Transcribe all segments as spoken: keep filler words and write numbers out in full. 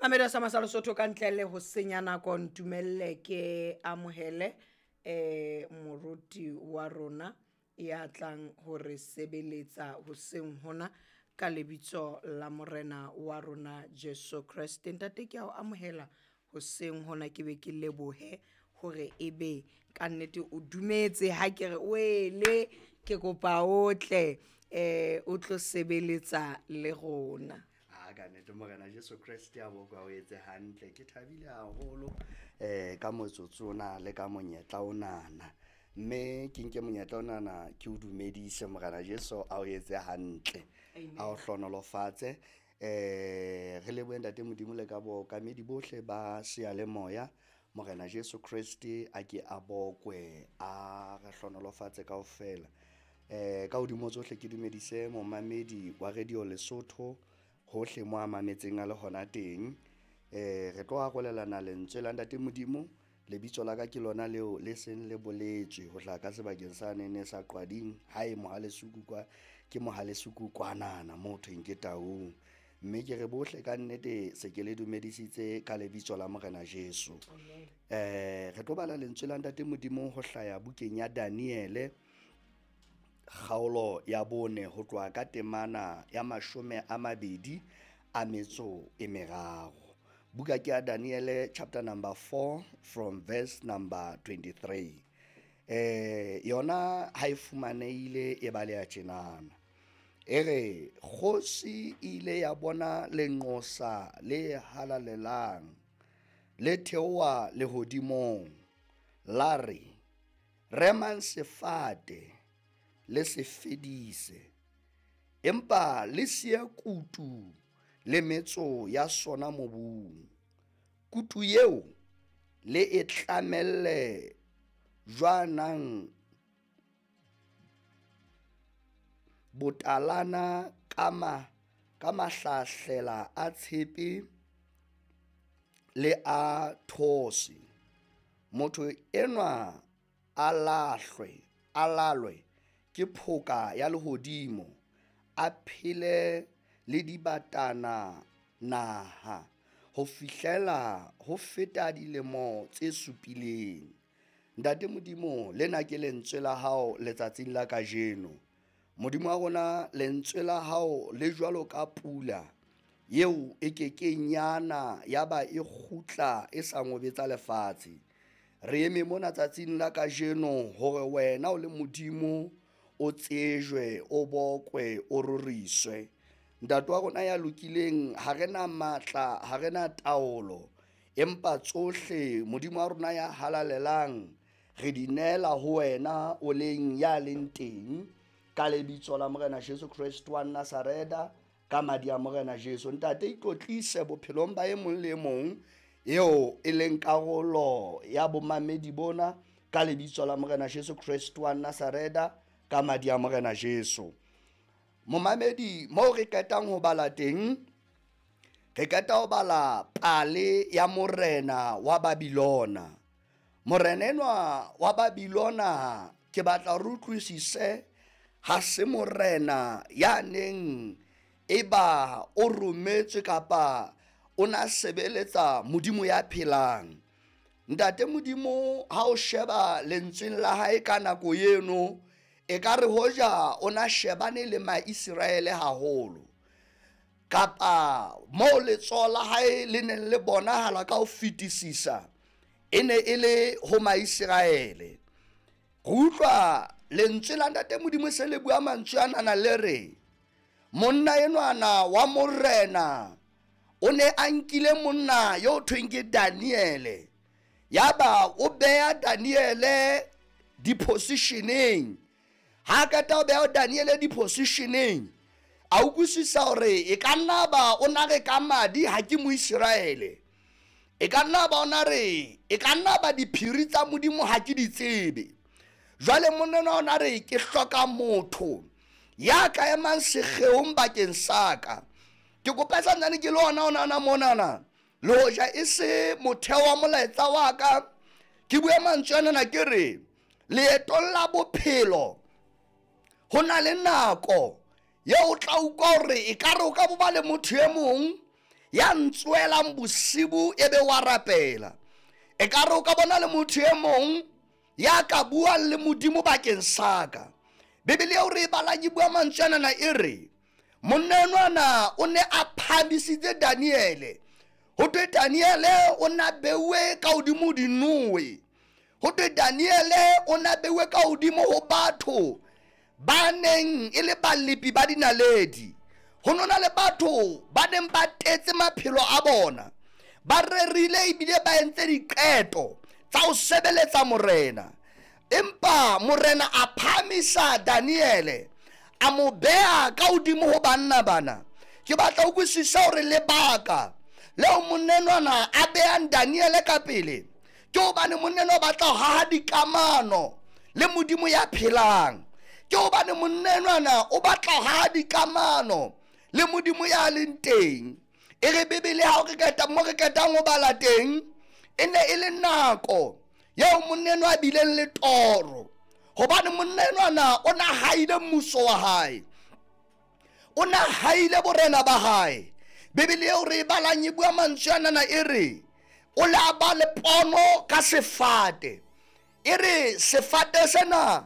Mamedi sa Masalo Sotho ka ntle le ho senya nako ntumelle ke amohele eh moruti wa rona ya tlang hore sebeletsa hoseng hona ka lebitso la morena wa rona Jesu Kreste. Ntate ke a o amohela hoseng hona ke be ke lebohe hore ebe ka nnete o dumetse ha ke re wele ke kopa o tle eh o tlo sebeletsa le rona. A ka nnete morena Jesu Kreste a bokwa o etse hantle. Ke thabile haholo eh ka motsotso ona le ka monyetla onana. Mme ke nke monyetla onana ke o dumedise morena Jesu a o etse hantle. A o hlonolofatse. Eh re lebohe ntate Modimo le ka bookamedi bohle ba seyalemoya. Morena Jesu Kreste a ke a bokwe a re hlonolofatse kaofela. Eh ka hodimo tsohle ke dumedise momamedi wa Radio Lesotho hohle mo a mametseng a le hona teng. Eh re tlo arolelana lentswe la ntate Modimo. Lebitso la ka ke lona leo le seng le boletswe ho hlaha ka sebakeng sa nene sa Qwading hae Mohalesuku kwa ke Mohalesuku kwanana mo thweng ke Taung. Mme ke re bohle ka nnete se ke le dumedisitse ka lebitso la morena Jesu. Eh re tlo bala lentswe la ntate Modimo ho hlaya bukeng ya Daniele kgaolo ya bone ho tloha ka temana ya mashome a mabedi a metso e meraro. Buka ke ya Daniele chapter number four from verse number twenty-three. Eh yona ha e fumanehile e baleha tjenana. E re kgosi ile ya bona lenqosa le halalelang le theoha lehodimong la re remang sefate le se fedise empa le siye kutu le metso ya sona mobung. Kutu eo le e tlamelle jwanang botalana ka ma, ka mahlahlela a tshepe le a those. Motho enwa a lahlwe, a lalwe ke phoka ya lehodimo, a phele le dibatana naha ho fihlela ho feta dilemo tse supileng. Ntate Modimo, lena ke lentswe la hao letsatsing la kajeno. Modimo wa rona, lentswe la hao le jwalo ka pula eo e kekeng yana ya ba e kgutla e sa ngobetsa lefatshe. Re eme mona tsatsing la kajeno hore wena o le Modimo o tsejwe, o bokwe, o roriswe. Ntate wa rona ya lokileng, ha re na matla, ha re na taolo, empa tsohle Modimo wa rona ya halalelang re di neela ho wena o leng ya leng teng ka lebitso la Morena Jesu Kreste wa Nazareta, ka madi a Morena Jesu. Ntate, itlotlise bophelong ba e mong le e mong eo e leng karolo ya bomamedi bona ka lebitso la Morena Jesu Kreste wa Nazareta, ka madi a Morena Jesu. Momamedi, moo re qetang ho bala teng, re qeta ho bala pale ya morena wa Babilona. Morena enwa wa Babilona, ke batla re utlwisise, ha se morena ya neng eba o rometswe kapa o na sebeletsa Modimo ya phelang. Ntate Modimo, ha o sheba lentsweng la hae ka nako eno, e ka re hoja o na shebane le Maiseraele haholo, kapa moo letsoho la hae le neng le bonahala ka ho fetisisa e ne e le ho Maiseraele. Re utlwa lentswe la Ntate Modimo se le bua mantswe anana le re monna enwana wa morena o ne a nkile monna yo thweng ke Daniele, yaba o beha Daniele dipositioneng. Ha qeta o beha Daniele dipositioneng, a utlwisisa hore e ka nna ba o na re ka madi ha ke Moiseraele, e ka nna ba o na re e ka nna ba diphiri tsa Modimo ha ke di tsebe. Jwale monna o na re ke hloka motho ya ka emang sekgeong bakeng sa ka. Ke kopa santsane ke le ona ona ona monana, le hoja e se motheo wa molaetsa wa ka, ke bue mantswe anana ke re leetong la bophelo ho na le nako eo o tla utlwa hore ekare o ka bo ba le motho e mong Ya ntswelang bosibu ebe wa rapela. Ekare o ka bona le motho e mong ya ka buang le Modimo bakeng sa ka. Bibele eo re e balang e bua mantswe anana e re monna enwana o ne a phahamisitse Daniele. Ho thwe Daniele o na beuwe ka hodimo dinoe. Ho thwe Daniele o na beuwe ka hodimo ho batho ba neng e le balepi ba dinaledi. Ho nona le batho ba neng ba tetse maphelo a bona, ba rerile ebile ba entse diqeto tsa ho sebeletsa morena. Empa morena a phahamisa Daniele, a mo beha ka hodimo ho banna bana. Ke batla ho utlwisisa hore lebaka leo monna enwana a behang Daniele ka pele ke hobane monna enwa o batla ho haha dikamano le Modimo ya phelang. Ke hobane monna enwana o batla ho haha dikamano le Modimo ya leng teng. E re Bibele ha o re qeta mo re qetang ho bala teng, e ne e le nako eo monna enwa a bileng le toro. Hobane monna enwana o na haile mmuso wa hae, o na haile borena ba hae. Bibele eo re e balang e bua mantswe anana e re o la ba le pono ka sefate. E re sefate sena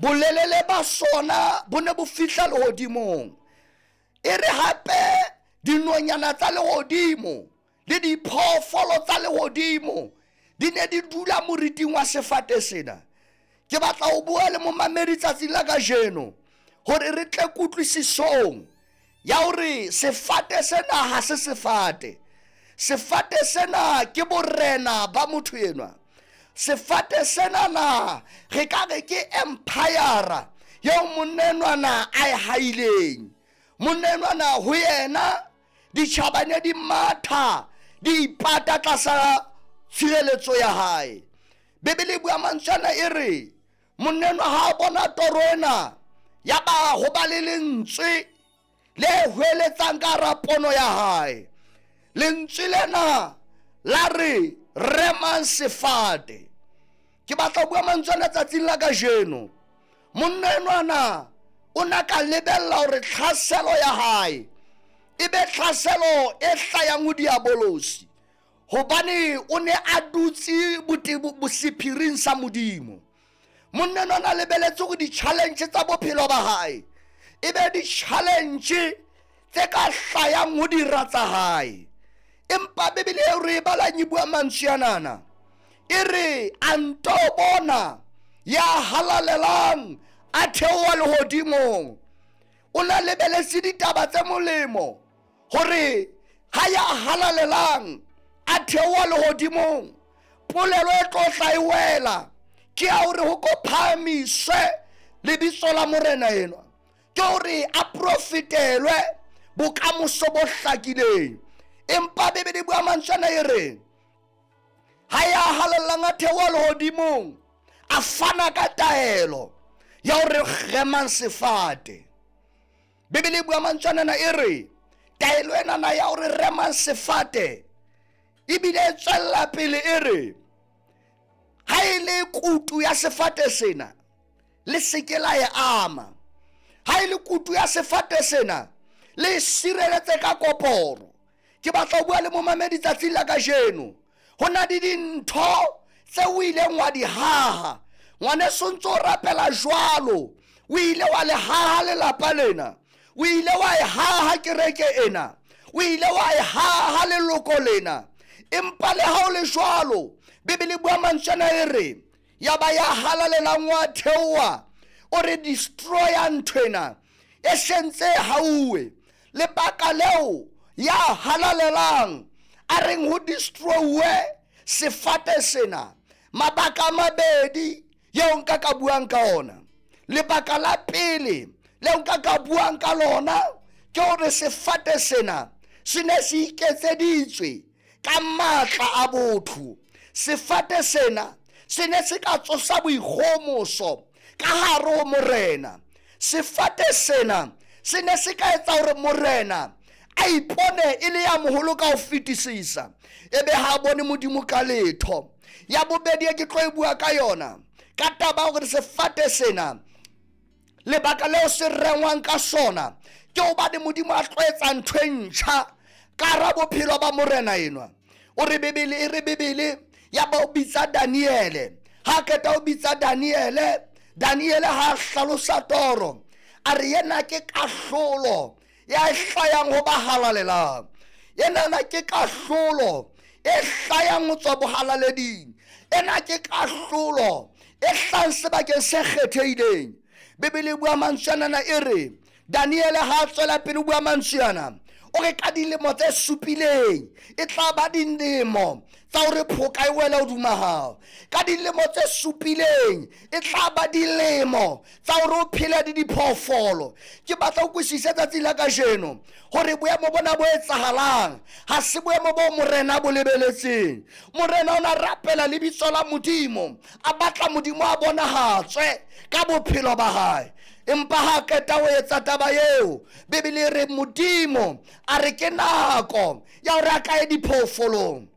bolelele ba sona bo ne bo fihla lehodimong. E re hape dinonyana tsa lehodimo le diphoofolo tsa lehodimo di ne di dula moriting wa sefate sena. Ke batla ho bua le momamedi tsatsing la kajeno hore re tle kutlwisisong ya hore sefate sena ha se sefate. Sefate sena ke borena ba motho enwa. Sefate sena na re ka re ke empire eo monna enwana a e haileng. Monna enwana ho yena ditjhaba ne di matha di ipata tlasa tshireletso ya hae. Bibele e bua mantswe ana e re monna enwa ha a bona toro ena ya ba ho ba le lentswe le hweletsang ka hara pono ya hae. Lentswe lena la re remang sefate. Ke batla ho bua mantswe ana tsatsing la kajeno. Monna enwana o na ka lebella hore tlhaselo ya hae e be tlhaselo e hlayang ho diabolosi, hobane o ne a dutse bosephiring sa Modimo. Monna enwa a lebeletse hore di-challenge tsa bophelo ba hae e be di-challenge tse ka hlayang ho dira tsa hae. Empa Bibele eo re e balang e bua mantswe anana e re a nto bona ya halalelang a theoha lehodimong. O na lebeletse ditaba tse molemo hore ha ya halalelang a theoha lehodimong, polelo e tlo tla e wela ke ya hore ho ko phahamiswe lebitso la morena enwa, ke hore a profitelwe bokamoso bo hlakileng. Empa Bibele e bua mantswe ana e re ha ya halalelang a theoha lehodimong a fana ka taelo ya hore remang sefate. Bibele e bua mantswe ana e re taelo enana ya hore remang sefate ebile e tswella pele e re ha e le kutu ya sefate sena le seke la e ama. Ha e le kutu ya sefate sena le sireletse ka koporo. Ke batla ho bua le momamedi tsatsing la kajeno. Ho na le dintho tse o ileng wa di haha. Ngwaneso ntso o rapela jwalo, o ile wa le haha lelapa lena, o ile wa e haha kereke ena, o ile wa e haha leloko lena. Empa le ha o le jwalo, Bibele e bua mantswe ana e re ya ba ya halalelang wa theoha, o re destroya ntho ena e sentse hauwe. Lebaka leo ya halalelang a reng ho destroy sefate sena, mabaka a mabedi yeo nka ka buang ka ona. Lebaka la pele leo nka ka buang ka lona ke hore sefate sena se ne se iketseditswe ka matla a botho. Sefate sena se ne se ka tsosa boikgomoso ka hare ho morena. Sefate sena se ne se ka etsa hore morena a ipone e le ya moholo ka ho fetisisa, ebe ha bone Modimo ka letho. Ya bobedi e ke tlo e bua ka yona ka taba ya hore sefate sena lebaka leo se rengwang ka sona ke hobane Modimo a tlo etsa ntho e ntjha Ka hara bophelo ba morena enwa, o re Bibele e re Bibele ya ba o bitsa Daniele. Ha qeta o bitsa Daniele, Daniele ha hlalosa toro, a re yena ke kahlolo ya hlayang ho ba halalelang. Ena ke kahlolo e hlayang ho tswa bohalaleding. Ena ke kahlolo e hlang sebakeng se kgethehileng. Bibele e bua mantswe ana e re Daniele ha tswela pele o bua mantswe ana, o re ka dilemo tse supileng e tla ba dilemo tsa hore phoka e wele hodima hao. Ka dilemo tse supileng e tla ba dilemo tsa hore o phele le diphoofolo. Ke batla ho kwisisa tsatsi la kajeno hore boemo bona bo etsahalang ha se boemo bo morena bo lebeletseng. Morena o na rapela lebitso la Modimo, a batla Modimo a bonahatswe ka bophelo ba hae. Empa ha qeta ho etsa taba eo, Bibele e re Modimo a re ke nako ya hore a kae diphoofolong.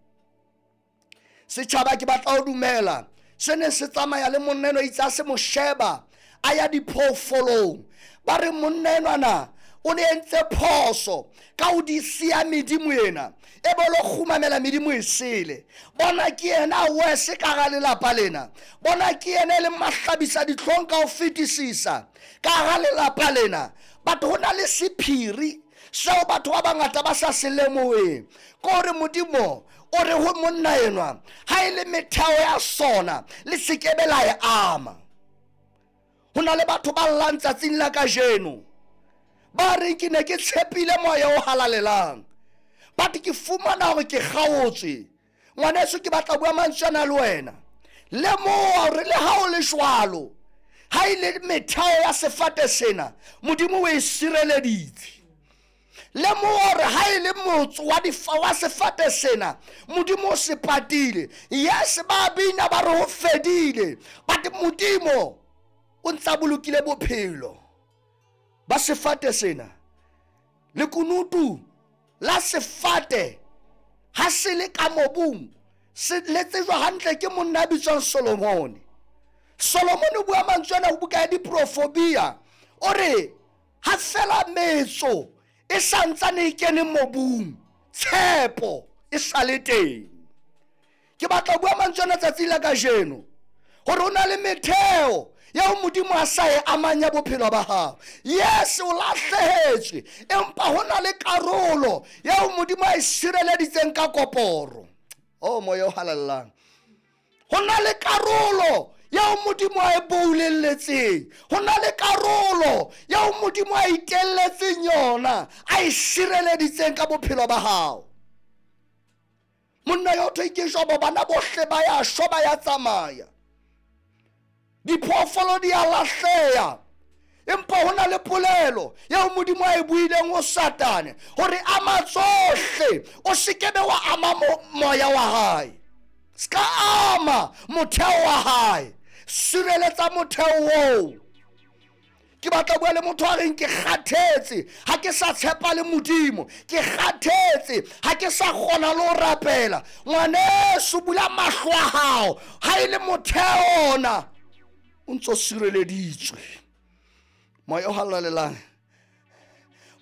Setjhaba ke batla ho dumela se ne se tsamaya le monna enwa, itse a se mo sheba a ya diphoofolong. Ba re monna enwana o ne entse phoso ka ho di siya medimo ena, e be lo kgumamela medimo e sele. Bona ke yena a wese ka hara lelapa lena, bona ke yena e leng mahlabisa dihlong ka ho fetisisa ka hara lelapa lena. But ho na le sephiri seo batho ba bangata ba sa se lemoheng, ke hore Modimo o re ho monna enwa, ha e le metheo ya sona le se ke be la e ama. Ho na le batho ba llang tsatsing la kajeno, ba reng ke ne ke tshepile moya o halalelang, but ke fumana hore ke kgaotswe. Ngwaneso, ke batla bua mantswe ana le wena. Lemoha hore le ha o le jwalo, ha e le metheo ya sefate sena, Modimo o e sireleditse. Lemoha hore ha e le motso wa difa wa sefate sena, Modimo o se patile. Yes, ba bina ba re ho fedile, but Modimo o ntsa bolokile bophelo ba sefate sena. Lekunutu la sefate ha se le ka mobung, se le tsejwa hantle ke monna a bitswang Solomone. Solomone o bua mantswe ana ho buka ya Diprofobia, o re ha fela metso e santsane e kene mobung, tshepo e sa le teng. Ke batla ho bua mantswe ana tsatsing la kajeno hore ho na le metheo ya ho Modimo a sa e amang ya bophelo ba hao. Yes, o lahlehetswe, empa ho na le karolo ya ho Modimo a e sireleditseng ka koporo. Oh, moya o halalelang. Ho na le karolo ya ho Modimo a e boulelletseng, ho na le karolo ya ho Modimo a itelletseng yona, a e sireleditseng ka bophelo ba hao. Monna yo thwe ke Jobo, bana bohle ba ya shwa, ba ya tsamaya, diphoofolo di a lahleha, empa ho na le polelo eo Modimo a e buileng ho Satane hore ama tsohle, o se ke be wa ama moya wa hae, ska ama motheo wa hae, sireletsa motheo oo. Ke batla bua le motho a reng ke kgathetse, ha ke sa tshepa le Modimo, ke kgathetse, ha ke sa kgona le ho rapela. Ngwaneso, bula mahlo a hao, ha e le motheo ona o ntso sireleditswe. Moya o halalelang,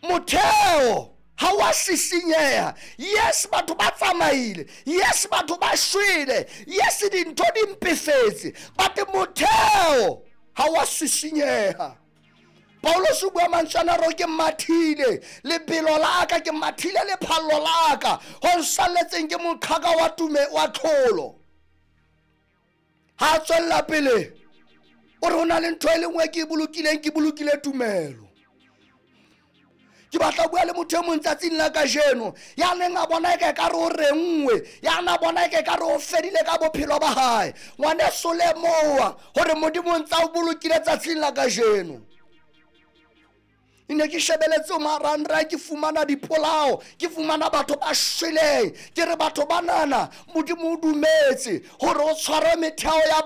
motheo ha wa sisinyeha. Yes, batho ba tsamaile, yes, batho ba shwele, yes, dintho di mpefetse, but motheo ha wa sisinyeha. Paulos o bua mantswe ana a re ke mathile lebelo la ka, ke mathile lephallo la ka, ho nsalletseng ke moqhaka wa tume wa tlholo. Ha tswella pele o re ho na le ntho e le nngwe ke e bolokileng, ke bolokile tumelo. Ke batla bua le motho e mong tsatsing la kajeno ya neng a bona eka ekare o renngwe, ya na bona eka ekare o fedile ka bophelo ba hae. Ngwaneso, lemoha hore Modimo o ntsa o bolokile tsatsing la kajeno. Ne ke shebeletse ho marangrang, ke fumana dipolao, ke fumana batho ba shweleng, ke re batho banana Modimo o dumetse hore o tshware metheo ya